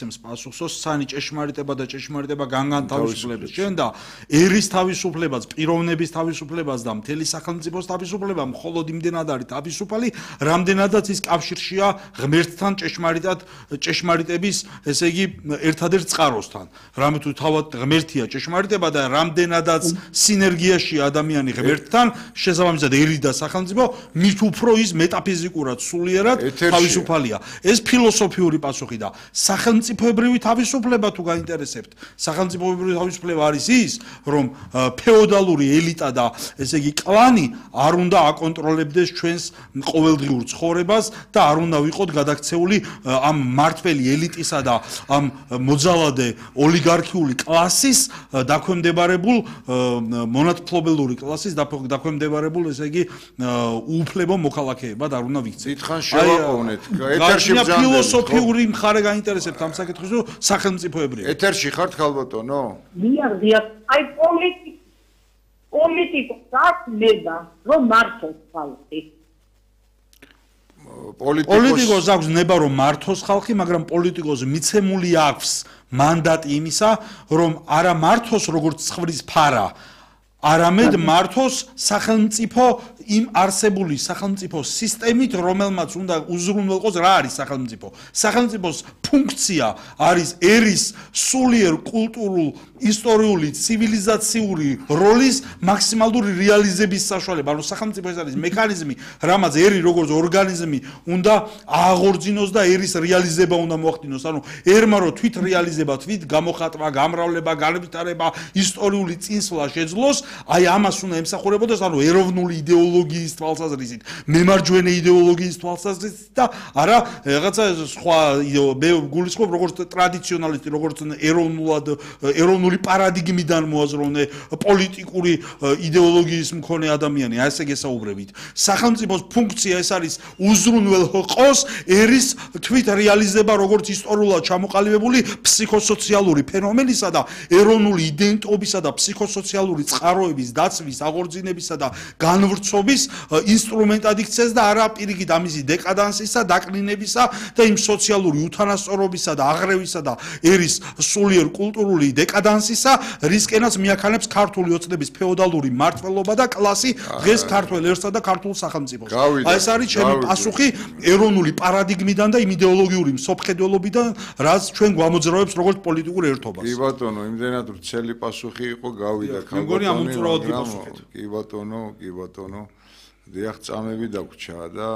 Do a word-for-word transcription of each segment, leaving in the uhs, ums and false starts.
პასუხსო სანი ჭეშმარიტება და ჭეშმარიტება განგან თავისუფლებას ჩვენ და ერის თავისუფლებას, პიროვნების თავისუფლებას და მთელი სახელმწიფოს თავისუფლება მხოლოდ იმდენად არის თავისუფალი, რამდენადაც ის კავშირშია ღმერთთან ჭეშმარიტად ჭეშმარიტების, ესე იგი, ერთადერთ წყაროსთან. რამე თუ თავად ღმერთია ჭეშმარიტება და რამდენადაც სინერგიაშია ადამიანი ღმერთთან, შესაბამისად ერი და სახელმწიფო მით უფრო ის მეტაფიზიკურად სულიერად თავისუფალია. ეს ფილოსოფიური პასუხი და სახელმწიფო სახელმწიფოებრივი თავისუფლება თუ გაინტერესებთ, სახელმწიფოებრივი თავისუფლება არის ის, რომ ფეოდალური ელიტა და ესე იგი კლანი არ უნდა აკონტროლებდეს ჩვენს ყოველდღიურ ცხოვრებას და არ უნდა ვიყოთ გადაქცეული ამ მართველი ელიტისა და ამ მოძალადე ოლიგარქიული კლასის დაქვემდებარებულ მონათფლობელური კლასის დაქვემდებარებულ ესე იგი უუფლებო მოქალაქეებად არ უნდა ვიქცეთ. დიდხანს შევაყოვნეთ. ეთერში ბრძანდება. ფილოსოფიური მხარე გაინტერესებთ ამ საკითხზე სახელმწიფოებრივი. ეთერში ხართ ხალბატონო? დიახ, დიახ. აი პოლიტიკა პოლიტიკას ნება რომ მართოს ხალხი. პოლიტიკოს აქვს ნება რომ მართოს ხალხი, მაგრამ პოლიტიკოს მიცემული აქვს მანდატი იმისა, რომ არა მართოს როგორც ცხვრის ფარა, არამედ მართოს სახელმწიფო იმ არსებული სახელმწიფო სისტემით, რომელმაც უნდა უზრუნველყოს რა არის სახელმწიფო. სახელმწიფოს ფუნქცია არის ერის სულიერ კულტურულ, ისტორიული, ცივილიზაციური როლის მაქსიმალური რეალიზების საშუალება. ანუ სახელმწიფო ეს არის მექანიზმი, რამაც ერი როგორც ორგანიზმი უნდა ააღორძინოს და ერის რეალიზება უნდა მოახდინოს. ანუ ერმა რო თვით რეალიზება, თვით გამოხატვა, გამრავლება, განვითარება, ისტორიული წინსვლა შეძლოს, აი ამას უნდა ემსახურებოდეს, ანუ ეროვნული იდეოლოგიის თვალსაზრისით, მემარჯვენე იდეოლოგიის თვალსაზრისით და არა რაღაცა სხვა მე გულისხმობ როგორც ტრადიციონალისტი, როგორც ეროვნულად ეროვნული პარადიგმიდან მოაზროვნე პოლიტიკური იდეოლოგიის მქონე ადამიანი, აი ესე გესაუბრებით. სახელმწიფოს ფუნქცია ეს არის უზრუნველყოს ერის თვით რეალიზება როგორც ისტორიულად ჩამოყალიბებული ფსიქოსოციალური ფენომენისა და ეროვნული იდენტობისა და ფსიქოსოციალური წყაროების დაცვის, აღორძინებისა და განვრცობის ინსტრუმენტად იქცეს და არა პირიქით ამისი დეკადანსისა, დაკლინებისა და იმ სოციალური უთანასწორობისა და აღრევისა და ერის სულიერ კულტურული დეკადანსისა, რისკენაც მიაქანებს ქართული ოცნების ფეოდალური მმართველობა და კლასი დღეს ქართულ ერსა და ქართულ სახელმწიფოს. აი ეს არის ჩემი პასუხი ეროვნული პარადიგმიდან და იმ იდეოლოგიური მსოფლმხედველობიდან, რაც ჩვენ გვამოძრავებს როგორც პოლიტიკურ ერთობას. კი ბატონო, იმდენად ვრცელი პასუხი იყო, გავიდა ქალბატონო. კი ბატონო, კი ბატონო. დიახ, წამები დაგვრჩა და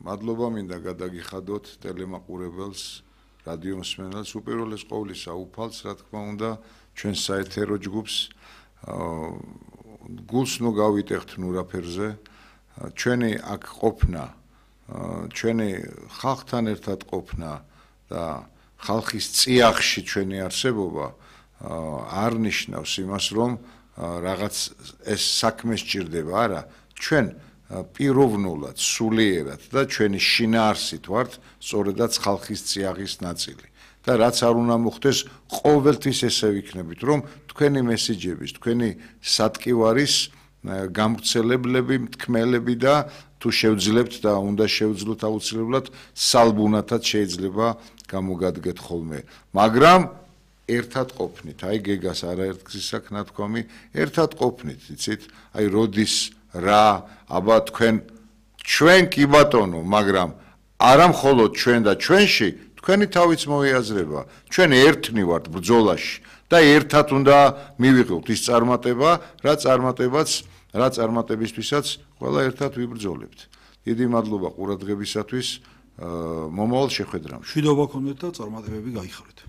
მადლობა მინდა გადაგიხადოთ ტელემაყურებელს, რადიო მსმენელს, უპირველეს ყოვლისა უფალს, რა თქმა უნდა, ჩვენ საეთერო ჯგუფს გულს ნუ გავიტეხთ ნურაფერზე, ჩვენი აქ ყოფნა, ჩვენი ხალხთან ერთად ყოფნა და ხალხის წიაღში ჩვენი არსებობა არ ნიშნავს იმას, რომ რაღაც ეს საქმე სჭირდება, არა, ჩვენ პიროვნულად, სულიერად და ჩვენი შინაარსით ვართ სწორედაც ხალხის წიაღის ნაწილი. და რაც არ უნდა მოხდეს, ყოველთვის ესე ვიქნებით, რომ თქვენი მესიჯების, თქვენი სატკივარის გამვრცელებლები, მთქმელები და თუ შევძლებთ და უნდა შევძლოთ აუცილებლად, სალბუნათად შეიძლება გამოგადგეთ ხოლმე. მაგრამ ერთად ყოფნით, აი გეგას არაერთგზის აქ ნათქვამი, ერთად ყოფნით, იცით, აი როდის რა, აბა თქვენ ჩვენ კი ბატონო, მაგრამ არა მხოლოდ ჩვენ და ჩვენში, თქვენი თავიც მოიაზრება, ჩვენ ერთნი ვართ ბრძოლაში და ერთად უნდა მივიღოთ ის წარმატება, რა წარმატებაც, რა წარმატებისთვისაც ყველა ერთად ვიბრძოლებთ. დიდი მადლობა ყურადღებისათვის, მომავალ შეხვედრამდე. მშვიდობა გქონდეთ და წარმატებები გაიხარეთ.